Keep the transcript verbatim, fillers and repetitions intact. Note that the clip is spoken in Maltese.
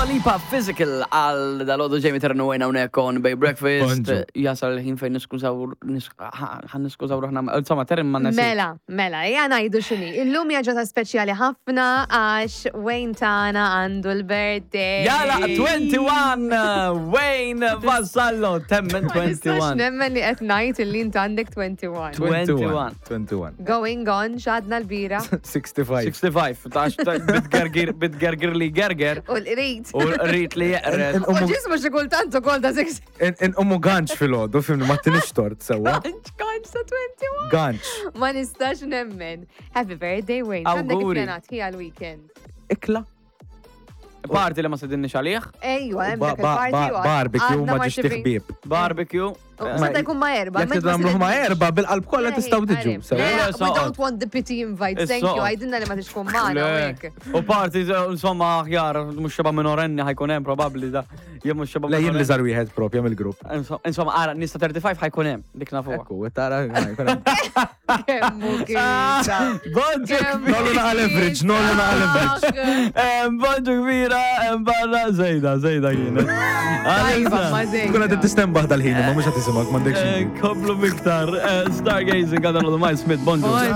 Lipa, Physical, għal dal-għodu Jamie Ternu għajna unek on Bay Breakfast. Bonġu. Jasal il-ħin fejn niskużaw, ħan niskużaw ruħna, insomma, Terren ma nasi. Mela, mela, ejja ngħidu x'inhi. Illum hija ġurnata speċjali ħafna għax Wayne tagħna għandu l-birthday. Jala, wieħed u għoxrin, Wayne Vassallo, temmen Ma nistax wieħed u għoxrin. Nemmen li qed ngħid illi int għandek wieħed u għoxrin. wieħed u għoxrin. wieħed u għoxrin. Going on, x'għadna l-bira. sittin u ħamsa. sittin u ħamsa, tax bitgergir, bitgergir li gerger U l-qrid. u rrit li jeqred. U ġismu xi kultant ukoll ta' six. Umu ganċ fil-ħodu, fimni, ma tinix tort sewa. Ganċ, ganċ ta' wieħed u għoxrin. Ganċ. Ma nistax nemmen. Happy birthday, Wayne. Għandek Awguri. ippjanat ħija l-weekend. Ikla. Party li ma sedinni xalih, Ejwa, hemm Ba- dak ba- il-party. ba- u Barbecue għadna ma ma ġiex rċevejn. tiħbib. Barbecue. Seta jkun ma erba. Jek tidamluħ ma erba, bil-qalb kollha tistgħu tiġu. Sewa. Le, We soqgħod. don't want the pity invite, thank you. Is-soqgħod. Għajdinna li ma tixkun maħna. Le. U hekk. U party, insomma, aħjar, mux xeba minorenni ħajkun hemm probabbli da. Jien mhux xeba Le, jien li minorenni. żar wieħed propja mill-grupp. Insomma, ara, nista ħamsa u tletin ħajkun hemm, dik nafuha. Ekku, tara. jkun hemm. Kemmu kisa. Bonġu Kemmu Nollu naqa leverage, nollu naqa leverage. kbira, bonġu kbira, barra, zejda, zejda kienet. Tajba, ma Tkun qed zejda. tistenbaħ dal-ħin, ma mhux qed tisimgħek, m'għandekx. Komplu miktar, Stargazing għadha l-Miles Smith, bonġu.